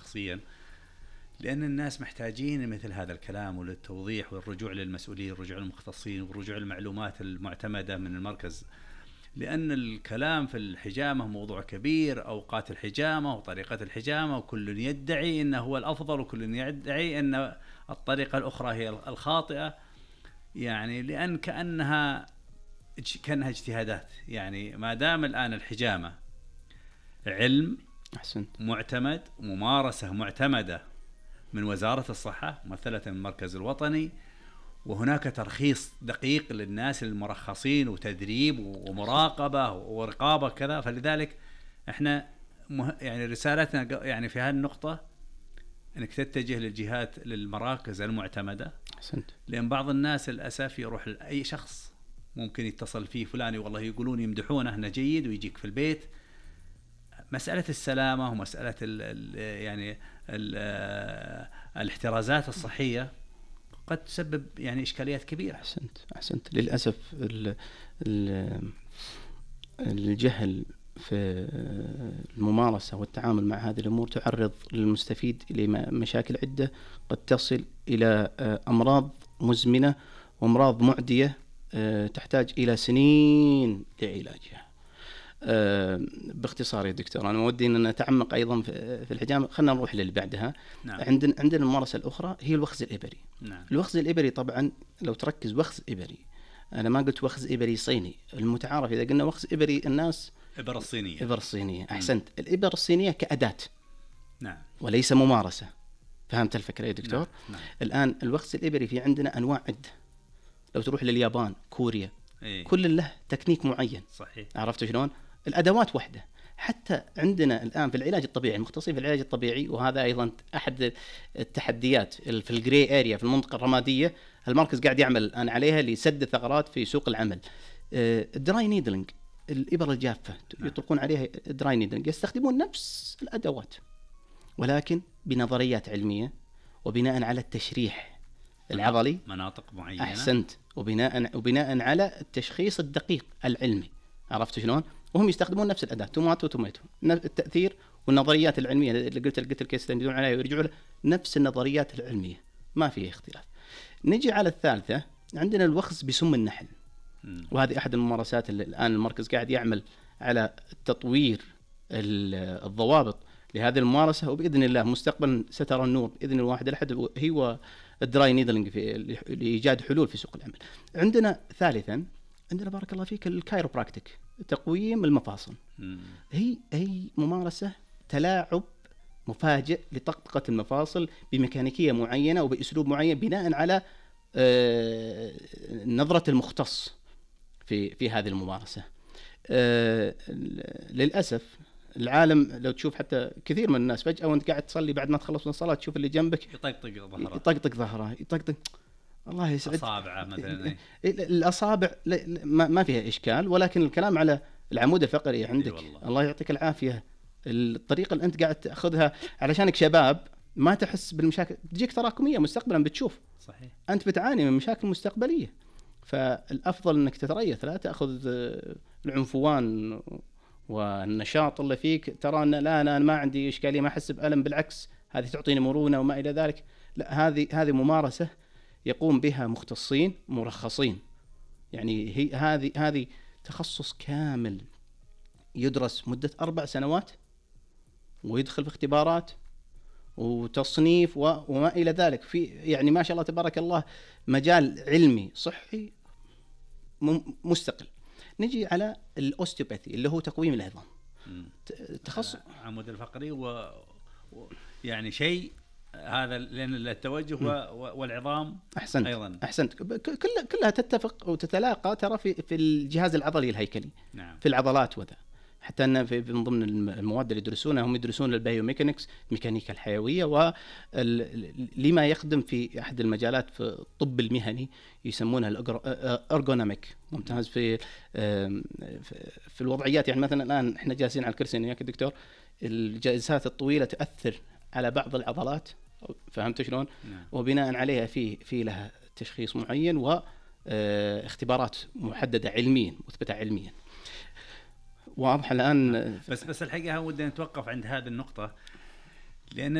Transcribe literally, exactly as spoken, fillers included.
شخصيا، لأن الناس محتاجين مثل هذا الكلام وللتوضيح والرجوع للمسؤولين والرجوع للمختصين والرجوع للمعلومات المعتمدة من المركز. لأن الكلام في الحجامة موضوع كبير، أوقات الحجامة وطريقة الحجامة، وكل يدعي أنه هو الأفضل وكل يدعي أن الطريقة الأخرى هي الخاطئة، يعني لأن كأنها كأنها اجتهادات. يعني ما دام الآن الحجامة علم أحسنت. معتمد، ممارسة معتمدة من وزارة الصحة ممثلة من المركز الوطني، وهناك ترخيص دقيق للناس المرخصين وتدريب ومراقبة ورقابة كذا، فلذلك احنا مه... يعني رسالتنا يعني في هذه النقطة انك تتجه للجهات للمراكز المعتمدة. أحسنت. لأن بعض الناس للأسف يروح لأي شخص ممكن يتصل فيه فلان والله يقولون يمدحونه انه جيد ويجيك في البيت. مسألة السلامة ومسألة ال ال يعني ال الاحترازات الصحية قد تسبب يعني إشكاليات كبيرة. أحسنت أحسنت. للأسف ال ال الجهل في الممارسة والتعامل مع هذه الأمور تعرض للمستفيد إلى مشاكل عدة قد تصل إلى أمراض مزمنة وأمراض معدية تحتاج إلى سنين لعلاجها. أه باختصار يا دكتور، أنا ودي أن نتعمق أيضا في الحجامة. خلنا نروح للي بعدها. نعم. عندنا عندنا الممارسة الأخرى هي الوخز الإبري. نعم. الوخز الإبري طبعا لو تركز وخز إبري، أنا ما قلت وخز إبري صيني، المتعارف إذا قلنا وخز إبري الناس إبر الصينية. إبر الصينية. أحسنت. الإبر الصينية كأداة. نعم. وليس ممارسة. فهمت الفكرة يا دكتور؟ نعم. نعم. الآن الوخز الإبري في عندنا أنواع عدة. لو تروح لليابان، كوريا، إيه؟ كل له تكنيك معين. صحيح. عرفت شلون؟ الأدوات وحدة. حتى عندنا الآن في العلاج الطبيعي، المختصين في العلاج الطبيعي، وهذا أيضا أحد التحديات في الجري اريا في المنطقة الرمادية، المركز قاعد يعمل الآن عليها لسد الثغرات في سوق العمل. الدراي نيدلينج، الإبر الجافة يطلقون عليها دراي نيدلينج، يستخدمون نفس الأدوات ولكن بنظريات علمية وبناء على التشريح العضلي، مناطق معينة. أحسنت. وبناء وبناء على التشخيص الدقيق العلمي. عرفت شلون؟ وهم يستخدمون نفس الأداة، توماتو توماتو، التأثير والنظريات العلمية اللي قلت قلت الكيس يدلون عليها ويرجعوا له نفس النظريات العلمية، ما فيه اختلاف. نجي على الثالثة، عندنا الوخز بسم النحل. م. وهذه أحد الممارسات اللي الآن المركز قاعد يعمل على تطوير الضوابط لهذه الممارسة، وبإذن الله مستقبلا سترى النور بإذن الواحد الأحد هو الدراي نيدلينج في لإيجاد حلول في سوق العمل. عندنا ثالثا، عندنا بارك الله فيك الكايروبراكتيك، تقويم المفاصل. م. هي هي ممارسة تلاعب مفاجئ لطقطقة المفاصل بميكانيكية معينة وبأسلوب معين بناء على آه نظرة المختص في في هذه الممارسة. آه للأسف العالم لو تشوف حتى كثير من الناس فجأة وانت قاعد تصلي بعد ما تخلص من الصلاة تشوف اللي جنبك يطقطق ظهره يطقطق ظهره يطقطق الله يسعد أصابعه مثلا. الأصابع ما فيها إشكال، ولكن الكلام على العمود الفقري عندك. الله يعطيك العافية، الطريقة اللي أنت قاعد تأخذها علشانك شباب ما تحس بالمشاكل، تجيك تراكمية مستقبلا بتشوف. صحيح. أنت بتعاني من مشاكل مستقبلية، فالأفضل أنك تتريث، لا تأخذ العنفوان والنشاط اللي فيك ترى أن لا أنا ما عندي إشكالية، ما أحس بألم، بالعكس هذه تعطيني مرونة وما إلى ذلك. لا، هذه هذه ممارسة يقوم بها مختصين مرخصين. يعني هي هذه هذه تخصص كامل يدرس مدة أربع سنوات ويدخل في اختبارات وتصنيف وما إلى ذلك، في يعني ما شاء الله تبارك الله مجال علمي صحي مستقل. نجي على الأوستيوباثي اللي هو تقويم العظام، تخصص عمود الفقري و... و... يعني شيء هذا لأن التوجه والعظام. أحسنت. أيضا أحسنت. كلها كلها تتفق وتتلاقى ترى في في الجهاز العضلي الهيكلي. نعم. في العضلات وذا، حتى أن في من ضمن المواد اللي يدرسونها هم يدرسون البايوميكانكس، الميكانيكا الحيوية، ولما يخدم في أحد المجالات في الطب المهني يسمونها الأرغونوميك. ممتاز في في الوضعيات. يعني مثلا الآن إحنا جالسين على الكرسي وياك دكتور، الجلسات الطويلة تأثر على بعض العضلات، فهمت شلون؟ نعم. وبناء عليها في في لها تشخيص معين واختبارات محددة علميا مثبتة علميا. واضح الآن. بس بس الحقيقة ودنا نتوقف عند هذه النقطة، لأن